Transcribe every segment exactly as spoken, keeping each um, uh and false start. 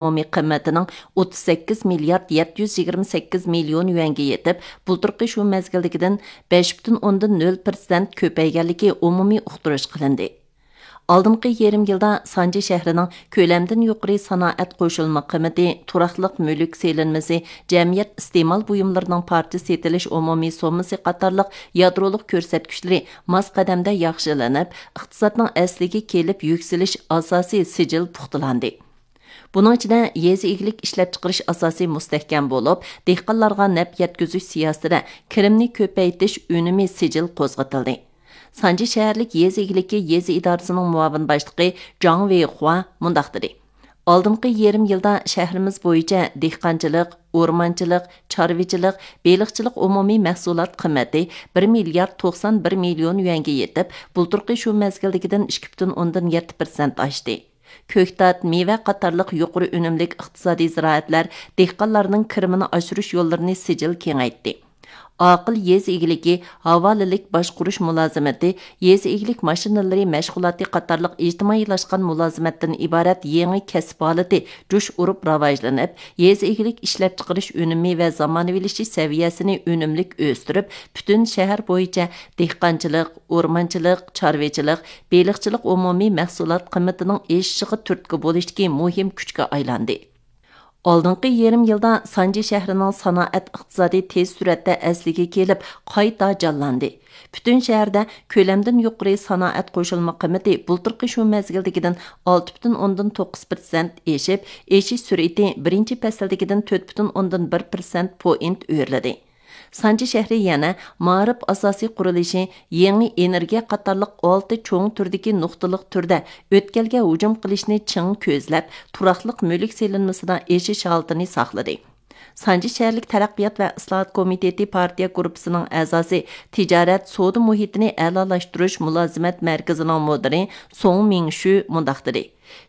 ئومۇمىي قىممىتىنىڭ ئوتتۇز سەككىز مىليارد يەتتە يۈز يىگىرمە سەككىز مىليون يۈەنگە يېتىپ، بۇلتۇرقى شۇ مەزگىلدىكىدىن بەش پۈتۈن ئوندىن نۆل پىرسەنت كۆپەيگەنلىكى ئومۇمىي ئۇقتۇرۇش قىلىندى. ئالدىنقى يېرىم يىلدا سانجى شەھىرىنىڭ كۆلەمدىن يۇقىرى سانائەت قوشۇلما قىممىتى، تۇراقلىق مۈلۈك سېلىنمىسى، جەمئىيەت ئىستېمال بۇيۇملىرىنىڭ پارچە سېتىلىش ئومۇمىي سوممىسى قاتارلىق يادرولۇق كۆرسەتكۈچلىرى ماس قەدەمدە ياخشىلىنىپ، ئىقتىسادنىڭ ئەسلىگە كېلىپ يۈكسىلىش ئاساسىي سىجىل پۇختىلاندى. بۇنىڭ ئىچىدە يېزا ئىگىلىك ئىشلەپچىقىرىش ئاساسى مۇستەھكەم بولۇپ، دېھقانلارغا نەپ يەتكۈزۈش سىياسىتىدە كىرىمنى كۆپەيتىش ئۈنۈمى سىجىل قوزغىتىلدى. سانجى شەھەرلىك يېزا ئىگىلىكى يېزا ئىدارىسىنىڭ مۇئاۋىن باشلىقى جاڭ ۋېيخۇا مۇنداق دېدى: ئالدىنقى يېرىم يىلدا شەھىرىمىز بويىچە دېھقانچىلىق، ئورمانچىلىق، چارۋىچىلىق، بېلىقچىلىق ئومۇمىي مەھسۇلات قىممىتى بىر مىليارد توقسان بىر مىليون يۈەنگە يېتىپ، بۇلتۇرقى شۇ مەزگىلدىكىدىن ئىككى پۈتۈن ئوندىن يەتتە پىرسەنت ئاشتى. كۆكتات، مېۋە قاتارلىق يۇقىرى ئۈنۈملۈك ئىقتىسادىي زىرائەتلەر دېھقانلارنىڭ كىرىمىنى ئاشۇرۇش يوللىرىنى سىجىل كېڭەيتتى. ئاقىل يېزا ئىگىلىكى، ھاۋالىلىك باشقۇرۇش مۇلازىمىتى، يېزا ئىگىلىك ماشىنىلىرى مەشغۇلاتى قاتارلىق ئىجتىمائىيلاشقان مۇلازىمەتتىن ئىبارەت يېڭى كەسىپ ھالىتى جۇش ئۇرۇپ راۋاجلىنىپ، يېزا ئىگىلىك ئىشلەپچىقىرىش ئۈنۈمى ۋە زامانىۋىلىشىش سەۋىيەسىنى ئۈنۈملۈك ئۆستۈرۈپ، پۈتۈن شەھەر بويىچە دېھقانچىلىق، ئورمانچىلىق، چارۋىچىلىق، بېلىقچىلىق ئومۇمىي مەھسۇلات قىممىتىنىڭ ئېشىشىغا تۈرتكە بولۇشتىكى مۇھىم كۈچكە ئايلاندى. ئالدىنقى يېرىم يىلدا سانجى شەھىرىنىڭ سانائەت ئىقتىسادى تېز سۈرئەتتە ئەسلىگە كېلىپ، قايتا جانلاندى. پۈتۈن شەھەردە كۆلەمدىن يۇقىرى سانائەت قوشۇلما قىممىتى بۇلتۇرقى شۇ مەزگىلدىكىدىن ئالتە پۈتۈن ئوندىن توققۇز پىرسەنت ئېشىپ، ئېشىش سۈرئىتى بىرىنچى پەسىلدىكىدىن تۆت پۈتۈن ئوندىن بىر پىرسەنت پوينت ئۆرلىدى. سانجى شەھىرى يەنە مائارىپ ئاساسىي قۇرۇلۇشى، يېڭى ئېنېرگىيە قاتارلىق ئالتە چوڭ تۈردىكى نۇقتىلىق تۈردە ئۆتكەلگە ھۇجۇم قىلىشنى چىڭ كۆزلەپ، تۇراقلىق مۈلۈك سېلىنمىسىدا ئېشىش ھالىتىنى ساقلىدى. سانجى شەھەرلىك تەرەققىيات ۋە ئىسلاھات كومىتېتى پارتىيە گۇرۇپپىسىنىڭ ئەزاسى، تىجارەت، سودا مۇھىتىنى ئەلالاشتۇرۇش مۇلازىمەت مەركىزىنىڭ مۇدىرى سوڭ مىڭشۈ مۇنداق دېدى: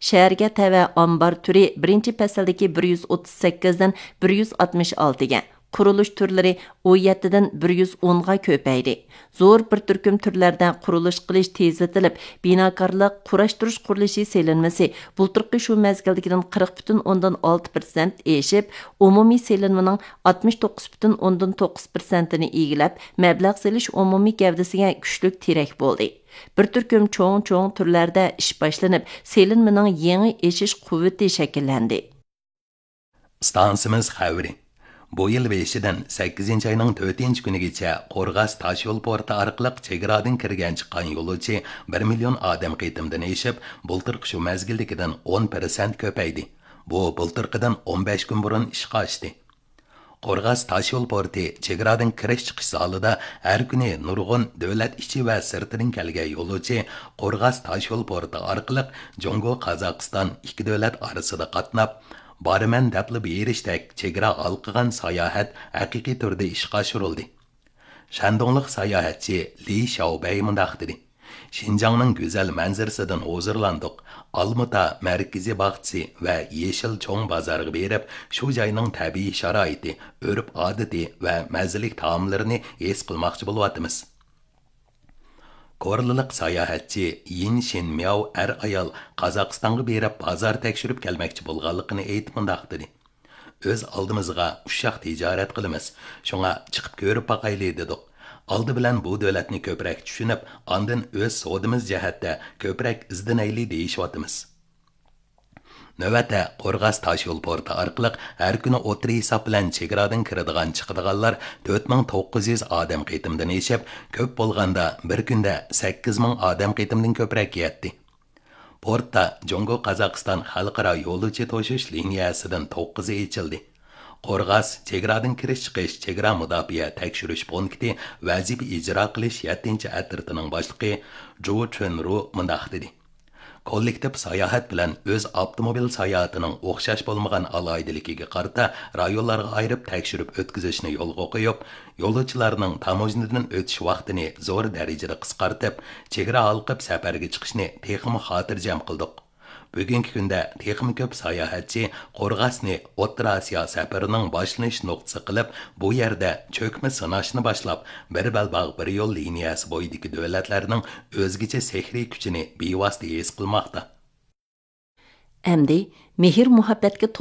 شەھەرگە تەۋە ئامبار تۈرى بىرىنچى پەسىلدىكى بىر يۈز ئوتتۇز سەككىزدىن بىر يۈز ئاتمىش ئالتىگە، قۇرۇلۇش تۈرلىرى ئون يەتتىدىن بىر يۈز ئونغا كۆپەيدى. زور بىر تۈركۈم تۈرلەردە قۇرۇلۇش قىلىش تېزلىتىلىپ، بىناكارلىق، قۇراشتۇرۇش قۇرۇلۇشى سېلىنمىسى بۇلتۇرقى شۇ مەزگىلدىكىدىن قىرىق پۈتۈن ئوندىن ئالتە پىرسەنت ئېشىپ، ئومۇمىي سېلىنمىنىڭ ئاتمىش توققۇز پۈتۈن ئوندىن توققۇز پىرسەنتىنى ئىگىلەپ، مەبلەغ سېلىش ئومۇمىي گەۋدىسىگە كۈچلۈك تىرەك بولدى. بىر تۈركۈم چوڭ-چوڭ تۈرلەردە ئىش باشلىنىپ، سېلىنمىنىڭ يېڭى ئېشىش قۇۋۋىتى شەكىللەندى. ئىستانسىمىز خەۋىرى. بۇ يىل بېشىدىن سەككىزىنچى ئاينىڭ تۆتىنچى كۈنىگىچە قورغاس تاشيول پورتى ئارقىلىق چېگرادىن كىرگەن چىققان يولۇچى بىر مىليون ئادەم قېتىمدىن ئېشىپ، بۇلتۇرقى شۇ مەزگىلدىكىدىن ئون پىرسەنت كۆپەيدى. بۇ بۇلتۇرقىدىن ئون بەش كۈن بۇرۇن ئىشقا ئاشتى. قورغاس تاشيول پورتى چېگرادىن كىرىش چىقىش زالىدا ھەر كۈنى نۇرغۇن دۆلەت ئىچى ۋە سىرتىدىن كەلگەن يولۇچى قورغاس تاشيول پورتى ئارقىلىق جۇڭگو، قازاقىستان ئىككى دۆلەت ئارىسىدا قاتناپ، بارىمەن دەپلا بېرىشتەك چېگرا ھالقىغان ساياھەت ھەقىقىي تۈردە ئىشقا ئاشۇرۇلدى. شەندۇڭلۇق ساياھەتچى لى شياۋبەي مۇنداق دېدى: شىنجاڭنىڭ گۈزەل مەنزىرىسىدىن ھۇزۇرلاندۇق. ئالمىتا مەركىزىي باغچىسى ۋە يېشىل چوڭ بازارغا بېرىپ، شۇ جاينىڭ تەبىئىي شارائىتى، ئۆرپ-ئادىتى ۋە مەززىلىك تائاملىرىنى ھېس قىلماقچى بولۇۋاتىمىز. كورلىلىق ساياھەتچى يىن شىن مياۋ ئەر-ئايال قازاقىستانغا بېرىپ بازار تەكشۈرۈپ كەلمەكچى بولغانلىقىنى ئېيتىپ مۇنداق دېدى: ئۆز ئالدىمىزغا ئۇششاق تىجارەت قىلىمىز، شۇڭا چىقىپ كۆرۈپ باقايلى دېدۇق. ئالدى بىلەن بۇ دۆلەتنى كۆپرەك چۈشىنىپ، ئاندىن ئۆز سودىمىز جەھەتتە كۆپرەك ئىزدىنەيلى دېيىشىۋاتىمىز. نۆۋەتتە قورغاس تاشيول پورتى ئارقىلىق ھەر كۈنى ئوتتۇرا ھېساب بىلەن چېگرادىن كىرىدىغان چىقىدىغانلار تۆت مىڭ توققۇز يۈز ئادەم قېتىمدىن ئېشىپ، كۆپ بولغاندا بىر كۈندە سەككىز مىڭ ئادەم قېتىمدىن كۆپرەك يەتتى. پورتتا جۇڭگو قازاقىستان خەلقئارا يولۇچى توشۇش لىنىيەسىدىن توققۇزى ئېچىلدى. قورغاس چېگرادىن كىرىش چىقىش چېگرا مۇداپىئە تەكشۈرۈش پونكىتى ۋەزىپە ئىجرا قىلىش يەتتىنچى ئەترىتىنىڭ باشلىقى جۇ چۈن رۇ مۇنداق دېدى: كوللېكتىپ ساياھەت بىلەن ئۆز ئاپتوموبىل ساياھىتىنىڭ ئوخشاش بولمىغان ئالاھىدىلىكىگە قارىتا رايونلارغا ئايرىپ تەكشۈرۈپ ئۆتكۈزۈشنى يولغا قويۇپ، يولۇچىلارنىڭ تاموژنىدىن ئۆتۈش ۋاقتىنى زور دەرىجىدە قىسقارتىپ، چېگرا ھالقىپ سەپەرگە چىقىشنى تېخىمۇ خاتىرجەم قىلدۇق. بۈگۈنكى كۈندە تېخىمۇ كۆپ ساياھەتچى قورغاسنى ئوتتۇرا ئاسىيا سەپىرىنىڭ باشلىنىش نۇقتىسى قىلىپ، بۇ يەردە چۆكمە سىناشنى باشلاپ، بىر بەلباغ بىر يول لىنىيەسى بويىدىكى دۆلەتلەرنىڭ ئۆزگىچە سېھرىي كۈچىنى بىۋاسىتە ھېس قىلماقتا. ئەمدى مېھىر مۇھەببەتكە تولغان